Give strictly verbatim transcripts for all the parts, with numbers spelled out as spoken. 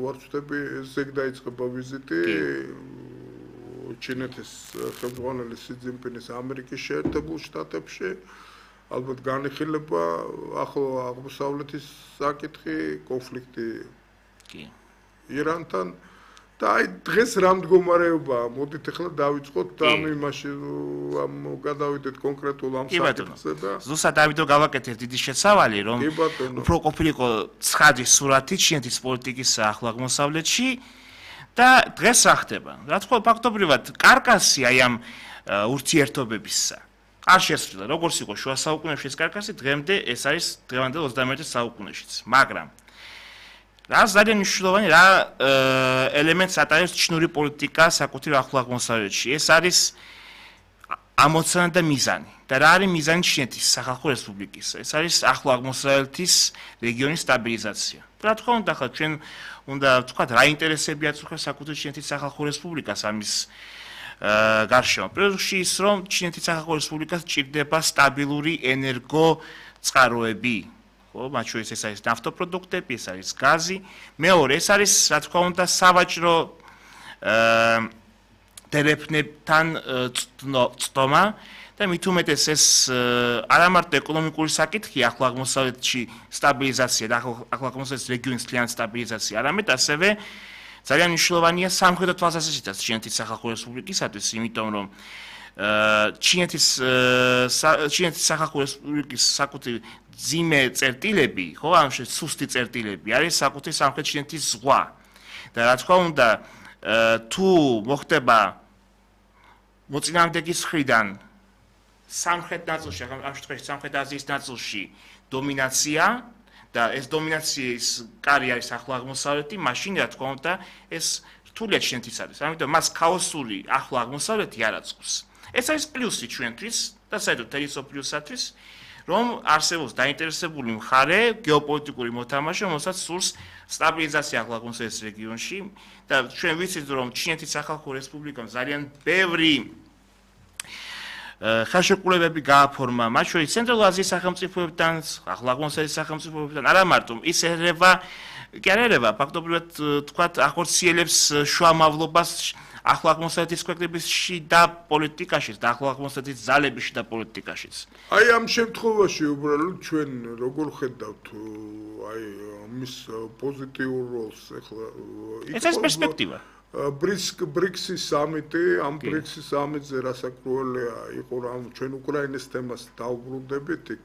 თუ არ ვწდები, ზეგ დაიწყება ვიზიტი ჩინეთის ხელმძღვანელი სი ძინპინის ამერიკის შეერთებულ შტატებში. ალბათ განიხილება ახლო აღმოსავლეთის საკითხი, კონფლიქტი ირანთან და აი დღეს რა მდგომარეობაა, მოდით ახლა დავიწყოთ ამ იმაში ამ გადავიდეთ კონკრეტულ ამ საკითხზე და ზუსტად დავით რომ გავაკეთეთ დიდი შესავალი რომ უფრო ყოფილიყო ცხადი სურათი ჩინეთის პოლიტიკის ახლო აღმოსავლეთში და დღეს რა ხდება? რა თქმა უნდა ფაქტობრივად კარკასი აი ამ ურთიერთობებისა არ შესრულა, როგორც იყო შუა საუკუნეებში ეს კარკასი, დღემდე ეს არის დღევანდელ ოცდამეერთე საუკუნეშიც, მაგრამ რა ძალიან მნიშვნელოვანი რა ელემენტს ატარებს ჩინური პოლიტიკა საკუთრივ ახლო აღმოსავლეთში. ეს არის ამოცანა და მიზანი. და რა არის მიზანი ჩინეთის სახალხო რესპუბლიკის? ეს არის ახლო აღმოსავლეთის რეგიონის სტაბილიზაცია. რა თქმა უნდა, ხა ჩვენ უნდა ვთქვათ, რა ინტერესები აწუხებს საკუთრივ ჩინეთის სახალხო რესპუბლიკას ამის გარშემო. პირველ რიგში ის, რომ ჩინეთის სახალხო რესპუბლიკას ჭირდება სტაბილური ენერგო წყაროები. მათ შორის ეს არის ნავთობპროდუქტები, ეს არის გაზი. მეორე, ეს არის, რა თქმა უნდა, სავაჭრო დერეფნებთან წდომა და მით უმეტეს ეს არა მარტო ეკონომიკური საკითხი ახლო აღმოსავლეთში სტაბილიზაცია და ახლო აღმოსავლეთის რეგიონის მთლიანი სტაბილიზაცია, არამედ ასევე ძალიან მნიშვნელოვანია სამხედრო თვალსაზრისითაც ჩინეთის სახალხო რესპუბლიკისათვის, იმიტომ რომ ჩინეთის ჩინეთის სახალხო რესპუბლიკის საკუთრივ ძიმე წერტილები, ხო, ამ შე სუსტი წერტილები არის საკუთრივ სამხრეთ ჩინეთის ზღვა. და რა თქმა უნდა, თუ მოხდება მოწინააღმდეგის მხრიდან სამხრეთ ნაწილში, ამ შემთხვევაში სამხრეთ აზიის ნაწილში დომინაცია და ეს დომინაციის კარი არის ახლო აღმოსავლეთი, მაშინ რა თქმა უნდა ეს რთულია ჩინეთის არის. ამიტომ მას ქაოსური ახლო აღმოსავლეთი არ აწყობს. ეს არის პლუსი ჩვენთვის და საერთოდ მთელი სოფლიოსათვის, რომ არსებობს დაინტერესებული მხარე გეოპოლიტიკური მოთამაშე, რომელსაც სურს სტაბილიზაცია ახლო აღმოსავლეთის რეგიონში და ჩვენ ვიცით, რომ ჩინეთის სახალხო რესპუბლიკამ ძალიან ბევრი ხელშეკრულებები გააფორმა, მათ შორის ცენტრალურ აზიის სახელმწიფოებთან, ახლო აღმოსავლეთის სახელმწიფოებთან, არა მარტო ის ერევა, კი არ ერევა, ფაქტობრივად თქვათ, ახორციელებს შუამავლობას ახლო აღმოსავლეთის ქვეყნების შიდა პოლიტიკაშიც და ახლო აღმოსავლეთის ძალების შიდა პოლიტიკაშიც. აი ამ შემთხვევაში უბრალოდ ჩვენ როგორ ხედავთ აი მის პოზიტიურ როლს ახლა ეს არის პერსპექტივა. ბრიქსის სამიტი, ამ ბრიქსის სამიტზე რასაკრუელია იყო რომ ჩვენ უკრაინის თემას დავბრუნდებით იქ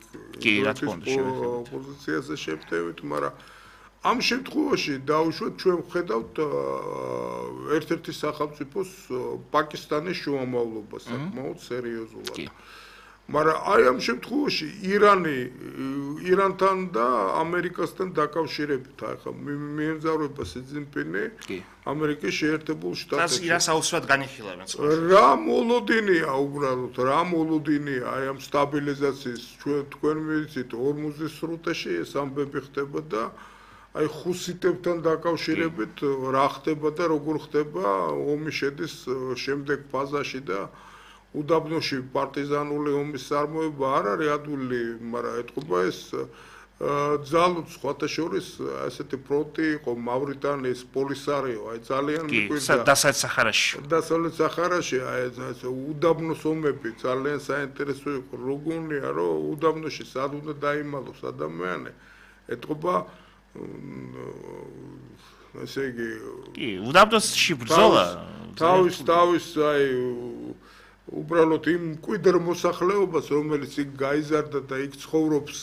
პოზიციაზე შევდივით, მაგრამ ამ შემთხვევაში დაუშვათ ჩვენ ვხედავთ ერთ-ერთი სახელმწიფოს პაკისტანის შუამავლობას საკმაოდ სერიოზულად. მაგრამ აი ამ შემთხვევაში ირანი ირანთან და ამერიკასთან დაკავშირებით ახლა მიემგზავრება სი ძინპინი ამერიკის შეერთებულ შტატებში. რას აუცილებლად განიხილავენ? რა მოლოდინია უბრალოდ, რა მოლოდინია აი ამ სტაბილიზაციის ჩვენ თქვენ ვიცით ორმუზის სრუტეში ეს ამბები ხდება და აი ხუსიტებთან დაკავშირებით რა ხდება და როგორ ხდება ომი შედის შემდეგ ფაზაში და უდაბნოში პარტიზანული ომის წარმოება არ არის ადვილი, მაგრამ ეთყობა ეს ძალუც სხვათა შორის ასეთი ფრონტი იყო მავრიტანიის პოლისარიო, აი ძალიან მიყვირდა დასავლეთ საჰარაში. დასავლეთ საჰარაში აი ეს უდაბნოს ომები ძალიან საინტერესო იყო, როგორია რომ უდაბნოში სად უნდა დაიმალოს ადამიანი, ეთყობა ესე იგი კი, უდაბნოში ბრძოლა თავის თავის აი უბრალოდ იმ მკვიდრ მოსახლეობას, რომელიც იქ გაიზარდა და იქ ცხოვრობს,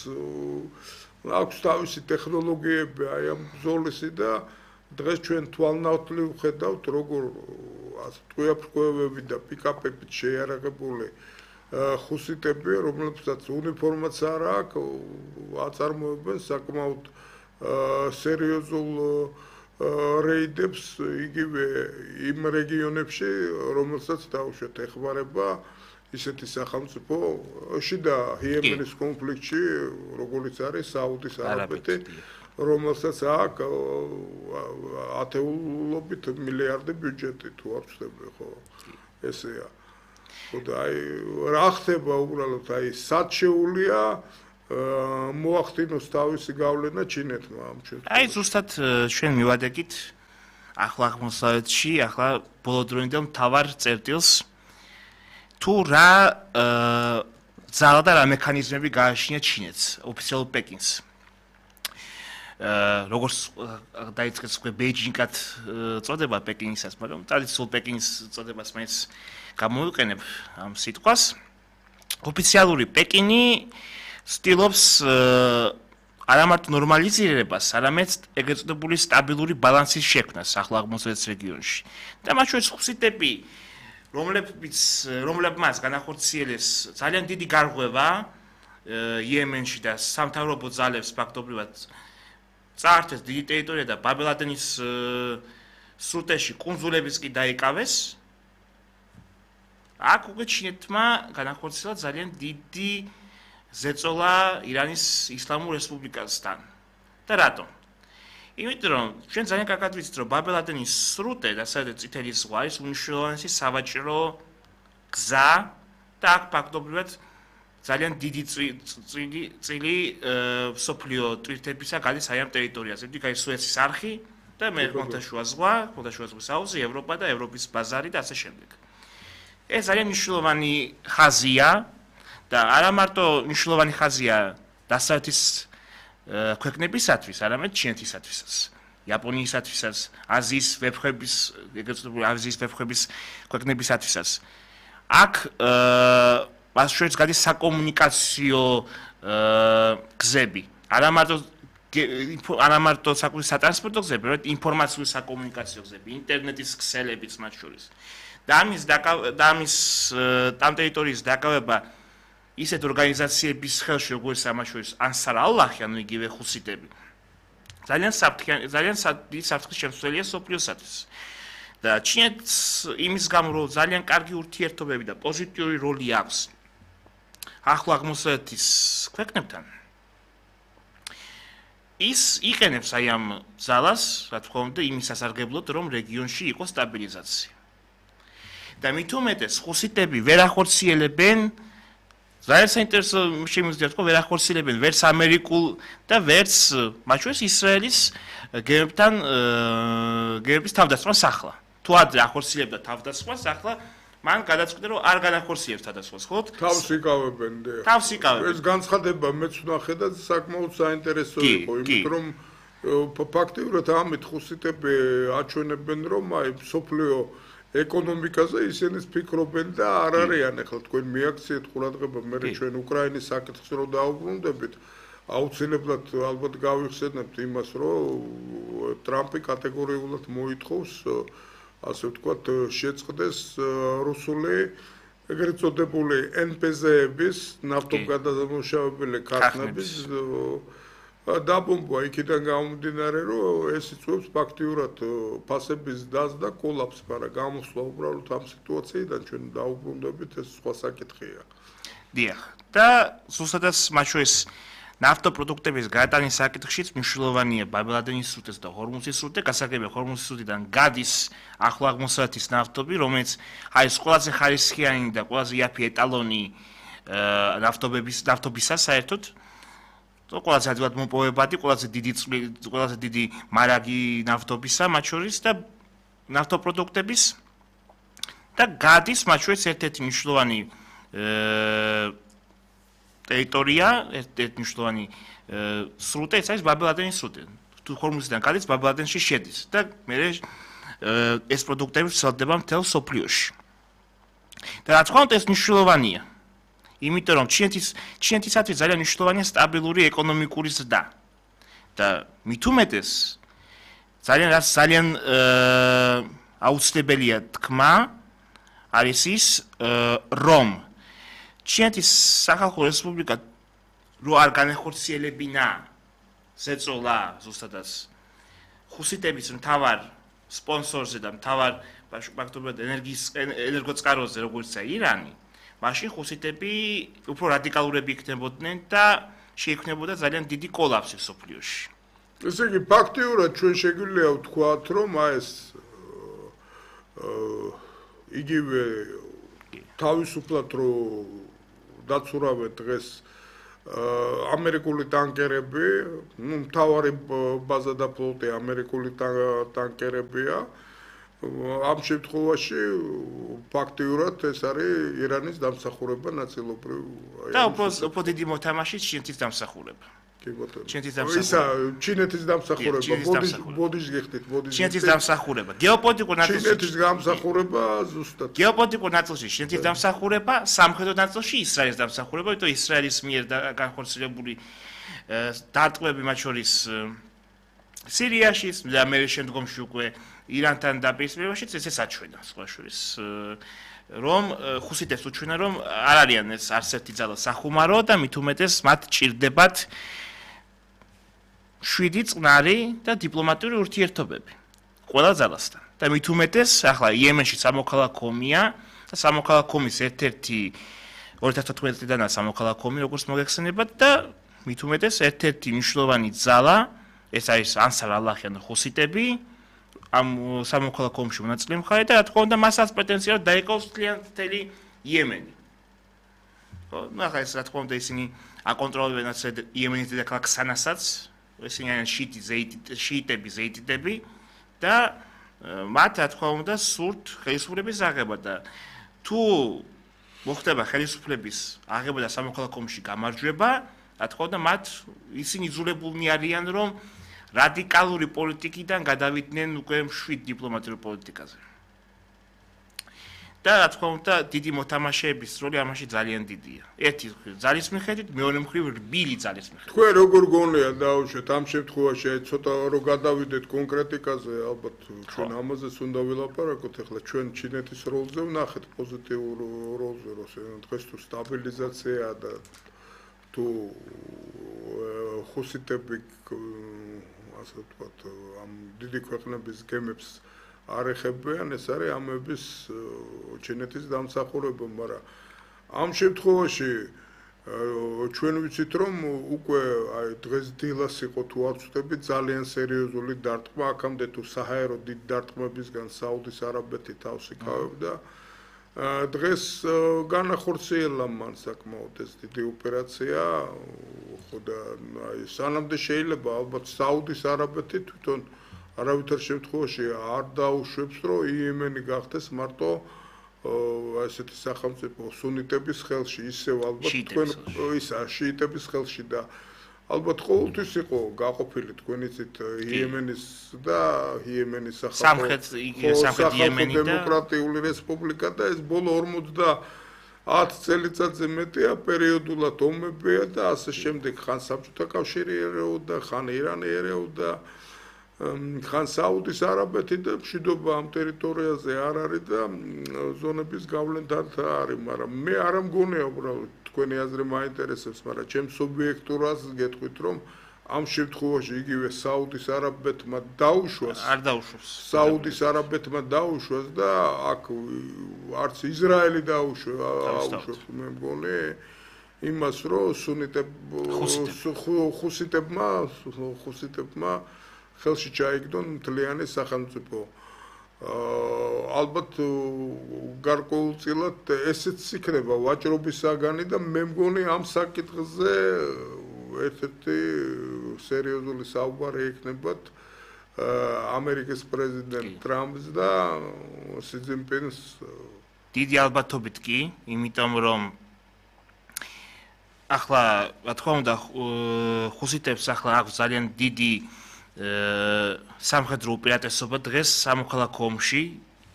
აქვს თავისი ტექნოლოგიები აი ამ ბრძოლისი და დღეს ჩვენ თვალნავთლივ ვხედავთ, როგორ ტყვიაფრქვევები და პიკაპებით შეიარაღებული ხუსიტები, რომლებსაც უნიფორმაც არ აქვს, აწარმოებენ საკმაოდ სერიოზულ რეიდებს იგივე იმ რეგიონებში, რომელსაც დაუშვათ ეხმარება ისეთი სახელმწიფო შიდა იემენის კონფლიქტში, როგორც არის საუდის არაბეთი, რომელსაც აქვს ათეულობით მილიარდი ბიუჯეტი თუ არ ვცდები, ხო? ესეა. ხოდა აი რა ხდება უბრალოდ აი სად შეუულია მოახდინოს თავისი გავლენა ჩინეთმა ამ შემთხვევაში. აი ზუსტად ჩვენ მივადეკით ახლა აღმოსავლეთში, ახლა ბოლოდროინდელ მთავარ წერტილს თუ რა ძალა და რა მექანიზმები გააჩნია ჩინეთს, ოფიციალურ პეკინს. როგორც დაიწყეს უკვე ბეიჯინგად წოდება პეკინისას, მაგრამ ტრადიციულ პეკინის წოდებას მაინც გამოვიყენებ ამ სიტყვას. ოფიციალური პეკინი ცდილობს არა მარტო ნორმალიზირებას, არამედ ეგრეთ წოდებული სტაბილური ბალანსის შექმნას ახლა აღმოსავლეთის რეგიონში. და მათ შორის ხუსიტები, რომლებიც რომლებმაც განახორციელეს ძალიან დიდი გარღვევა იემენში და სამთავრობო ძალებს ფაქტობრივად წაართეს დიდი ტერიტორია და ბაბ-ელ-მანდების სრუტეში კუნძულებიც კი დაიკავეს. აქ უკვე ჩინეთმა განახორციელა ძალიან დიდი ზეწოლა ირანის ისლამურ რესპუბლიკასთან. და რატომ? იმიტომ რომ ჩვენ ძალიან კარგად ვიცით, რომ ბაბ-ელ-მანდების სრუტე და სადაც წითელი ზღვა არის უმნიშვნელოვანესი სავაჭრო გზა და აქ ფაქტობრივად ძალიან დიდი წილი წილი სოფლიო ტვირთებისა გადის აი ამ ტერიტორიაზე. დიდი სუეცის არხი და მე ხმელთაშუა ზღვა, ხმელთაშუა ზღვის აუზი, ევროპა და ევროპის ბაზარი და ასე შემდეგ. ეს ძალიან მნიშვნელოვანი ხაზია და არა მარტო მნიშვნელოვანი ხაზია დასავლეთის ქვეყნებისათვის, არამედ ჩინეთისათვისაც, იაპონიისათვისაც, აზიის ვეფხვების, ეგრეთ წოდებული აზიის ვეფხვების ქვეყნებისათვისაც. აქ მას შორის გადის საკომუნიკაციო გზები, არა მარტო არა მარტო სატრანსპორტო გზები, არამედ ინფორმაციული საკომუნიკაციო გზები, ინტერნეტის ქსელებიც მათ შორის. და ამის და ამის ამ ტერიტორიის დაკავება ისეთ ორგანიზაციების ხელში, როგორც ამას შორის ანსარ ალ-ალლაჰი, ანუ იგივე ხუსიტები. ძალიან საფრთხე, ძალიან დიდი საფრთხის შემცველია სოფლიოსათვის. და ჩინეთს იმის გამო, რომ ძალიან კარგი ურთიერთობები და პოზიტიური როლი აქვს ახლო აღმოსავლეთის ქვეყნებთან. ის იყენებს აი ამ ძალას, რა თქმა უნდა, იმის სასარგებლოდ, რომ რეგიონში იყოს სტაბილიზაცია. და მით უმეტეს ხუსიტები ვერ ახორციელებენ ძალიან საინტერესო შემიძლია თქვა, ვერ ახორციელებენ ვერც ამერიკულ და ვერც მათ შორის ისრაელის გერბთან გერბის თავდასხმას ახლა. თუ ადრე ახორციელებდა თავდასხმას, ახლა მან გადაწყვიტა, რომ არ განახორციელებს თავდასხმას, ხო? თავს იკავებენ და თავს იკავებენ. ეს განცხადება მეც ვნახე და საკმაოდ საინტერესო იყო, იმიტომ რომ ფაქტიურად ამით ხუსიტები აჩვენებენ, რომ აი სოფლიო ეკონომიკაზე ისინი ფიქრობენ და არ არიან ახლა თქვენ მიაქციეთ ყურადღება მე ჩვენ უკრაინის საკითხს რო დაუბრუნდებით აუცილებლად ალბათ გავიხსენებთ იმას რომ ტრამპი კატეგორიულად მოითხოვს ასე ვთქვათ შეწყდეს რუსული ეგრეთ წოდებული ენ პე ზეების ნავთობგადამამუშავებელი ქარხნების დაბომბვა იქიდან გამომდინარე რომ ეს იწვევს ფაქტიურად ფასების დაზდა კოლაფს, მაგრამ გამოსვლა უბრალოდ ამ სიტუაციიდან ჩვენ დაუბრუნდებით ეს სხვა საკითხია. დიახ. და ზუსტადაც მათ შორის ნავთობპროდუქტების გადატანის საკითხშიც მნიშვნელოვანია ბაბ-ელ-მანდების სრუტეს და ჰორმუზის სრუტე, გასაგებია ჰორმუზის სრუტიდან გადის ახლო აღმოსავლეთის ნავთობი, რომელიც არის ყველაზე ხარისხიანი და ყველაზე იაფი ეტალონი ნავთობების ნავთობისა საერთოდ. ყველაზე ადვილად მოპოვებადი, ყველაზე დიდი ყველაზე დიდი მარაგი ნავთობისა მათ შორის და ნავთობპროდუქტების და გადის მათ შორის ერთ-ერთი მნიშვნელოვანი ტერიტორია, ერთ-ერთი მნიშვნელოვანი სრუტე, ეს არის ბაბ-ელ-მანდების სრუტე. თუ ჰორმუზიდან გადის, ბაბ-ელ-მანდებში შედის და მე ეს პროდუქტები ვრცელდება მთელ სოფლიოში. და რა თქმა უნდა ეს მნიშვნელოვანია. იმიტომ რომ ჩინეთის ჩინეთისათვის ძალიან მნიშვნელოვანია სტაბილური ეკონომიკური ზრდა. და მით უმეტეს ძალიან რაც ძალიან აუცილებელია თქმა არის ის რომ ჩინეთის სახალხო რესპუბლიკა რო არ განახორციელებინა ზეწოლა ზუსტადაც ხუსიტების მთავარ სპონსორზე და მთავარ ფაქტობრივად ენერგიის ენერგოწყაროზე როგორიცაა ირანი მაშინ ხუსიტები უფრო რადიკალურები იქნებოდნენ და შეიქმნებოდა ძალიან დიდი კოლაფსი სოფლიოში. ესე იგი ფაქტიურად ჩვენ შეგვიძლია ვთქვათ, რომ ეს იგივე თავისუფლად რო დაცურავეთ დღეს ამერიკული ტანკერები, ну, მთავარი ბაზა და ფლოტი ამერიკული ტანკერებია. ამ შემთხვევაში ფაქტიურად ეს არის ირანის დამსახურება ნაწილობრივ. და უფრო დიდი მოთამაშე ჩინეთის დამსახურება. კი ბატონო. ჩინეთის დამსახურება. ისა ჩინეთის დამსახურება, ბოდიშ ბოდიშ გიხდით, ბოდიშ. ჩინეთის დამსახურება, გეოპოლიტიკურ ნაწილში. ჩინეთის დამსახურება ზუსტად. გეოპოლიტიკურ ნაწილში ჩინეთის დამსახურება, სამხედრო ნაწილში ისრაელის დამსახურება, იმიტომ ისრაელის მიერ განხორციელებული დარტყმები მათ შორის სირიაში და მე შემდგომში უკვე ირანთან დაპირისპირებაშიც ესე საჩვენა სხვა შორის რომ ხუსიტებს უჩვენა რომ არ არიან ეს არც ერთი ძალა სახუმარო და მით უმეტეს მათ ჭირდებათ შვიდი წყნარი და დიპლომატიური ურთიერთობები ყველა ძალასთან და მით უმეტეს ახლა იემენში სამოქალაქო ომია და სამოქალაქო ომის ერთ-ერთი ორი ათას თოთხმეტი წლიდან სამოქალაქო ომი როგორც მოგეხსენებათ და მით უმეტეს ერთ-ერთი მნიშვნელოვანი ძალა ეს არის ანსარ ალაჰი ან ხუსიტები ამ სამოქალაქო ომში მონაწილე მხარე და რა თქმა უნდა მასაც პრეტენზია რომ დაიკავოს მთელი იემენი. ხო, ну ახლა ეს რა თქმა უნდა ისინი აკონტროლებენ ასე იემენის დედაქალაქ სანასაც, ისინი არიან შიიტი ზეიტი შიიტები ზეიტიდები და მათ რა თქმა უნდა სურთ ხელისუფლების აღება და თუ მოხდება ხელისუფლების აღება და სამოქალაქო ომში გამარჯვება, რა თქმა უნდა მათ ისინი იძულებულნი არიან რომ რადიკალური პოლიტიკიდან გადავიდნენ უკვე მშვიდ დიპლომატიურ პოლიტიკაზე. და რა თქმა უნდა, დიდი მოთამაშეების როლი ამაში ძალიან დიდია. ერთი ძალის მიხედვით, მეორე მხრივ რბილი ძალის მიხედვით. თქვენ როგორ გონია დაუშვეთ ამ შემთხვევაში, აი ცოტა რომ გადავიდეთ კონკრეტიკაზე, ალბათ ჩვენ ამაზეც უნდა ვილაპარაკოთ. ახლა ჩვენ ჩინეთის როლზე ვნახეთ პოზიტიურ როლზე, რომ დღეს თუ სტაბილიზაცია და თუ ხუსიტები ასე ვთქვათ, ამ დიდი ქვეყნების გემებს არ ეხებიან, ეს არის ამების ჩინეთის დამსახურება, მაგრამ ამ შემთხვევაში ჩვენ ვიცით, რომ უკვე აი დღეს დილას იყო თუ არ ვწდები ძალიან სერიოზული დარტყმა, აქამდე თუ საჰაერო დიდ დარტყმებისგან საუდის არაბეთი თავს იკავებდა. დღეს განახორციელა მან საკმაოდ ეს დიდი ოპერაცია, ხო და აი სანამდე შეიძლება ალბათ საუდის არაბეთი თვითონ არავითარ შემთხვევაში არ დაუშვებს, რომ იემენი გახდეს მარტო ესეთი სახელმწიფო სუნიტების ხელში, ისევ ალბათ თქვენ ისა შიიტების ხელში და ალბათ ყოველთვის იყო გაყოფილი თქვენ იცით იემენის და იემენის სამხრეთ სამხრეთ იემენი და დემოკრატიული რესპუბლიკა და ეს ბოლო ორმოცდაათ წელიწადზე მეტია პერიოდულად ომებია და ასე შემდეგ ხან საბჭოთა კავშირი ერეოდა, ხან ირანი ერეოდა, ხან საუდის არაბეთი და მშვიდობა ამ ტერიტორიაზე არ არის და ზონების გავლენით არის, მაგრამ მე არ მგონია უბრალოდ თქვენი აზრი მაინტერესებს, მაგრამ ჩემ სუბიექტურას გეტყვით, რომ ამ შემთხვევაში იგივე საუდის არაბეთმა დაუშვას, არ დაუშვას. საუდის არაბეთმა დაუშვას და აქ არც ისრაელი დაუშვა, აუშვებს მე მგონი იმას, რომ სუნიტებ ხუსიტებმა ხუსიტებმა ხელში ჩაიგდონ მთლიანი სახელმწიფო. ალბათ გარკვეულწილად ესეც იქნება ვაჭრობის საგანი და მე მგონი ამ საკითხზე ერთ-ერთი სერიოზული საუბარი იქნებათ ამერიკის პრეზიდენტ ტრამპს და სი ძინპინს. დიდი ალბათობით კი, იმიტომ რომ ახლა რა თქმა უნდა ხუსიტებს ახლა აქვს ძალიან დიდი სამხედრო უპირატესობა დღეს სამოქალაქო ომში,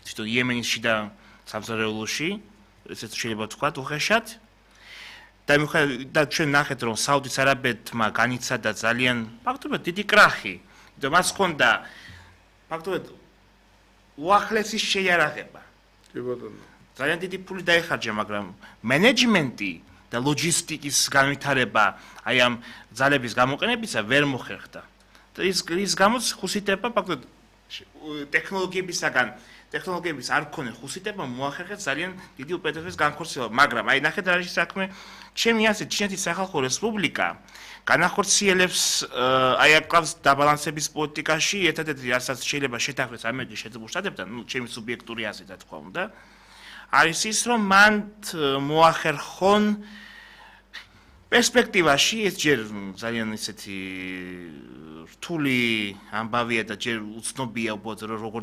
თვითონ იემენის შიდა სამზარეულოში, ესეც შეიძლება ვთქვათ უხეშად. და მიუხედავად და ჩვენ ნახეთ, რომ საუდის არაბეთმა განიცადა ძალიან ფაქტობრივად დიდი კრახი, და მას ჰქონდა ფაქტობრივად უახლესი შეიარაღება. კი ბატონო. ძალიან დიდი ფული დაიხარჯა, მაგრამ მენეჯმენტი და ლოჯისტიკის განვითარება აი ამ ძალების გამოყენებისა ვერ მოხერხდა. ის ის გამოც ხუსიტებმა ფაქტობრივად ტექნოლოგიებისაგან ტექნოლოგიების არ მქონე ხუსიტებმა მოახერხეს ძალიან დიდი უპირატესობის განხორციელება, მაგრამ აი ნახეთ რა არის საქმე, ჩემი აზრით ჩინეთის სახალხო რესპუბლიკა განახორციელებს აი აკავს დაბალანსების პოლიტიკაში ერთადერთი რასაც შეიძლება შეთანხმდეს ამერიკის შეერთებულ შტატებთან, ну ჩემი სუბიექტური აზრით რა თქმა უნდა, არის ის რომ მან მოახერხონ პერსპექტივაში ეს ჯერ ძალიან ისეთი რთული ამბავია და ჯერ უცნობია უბრალოდ როგორ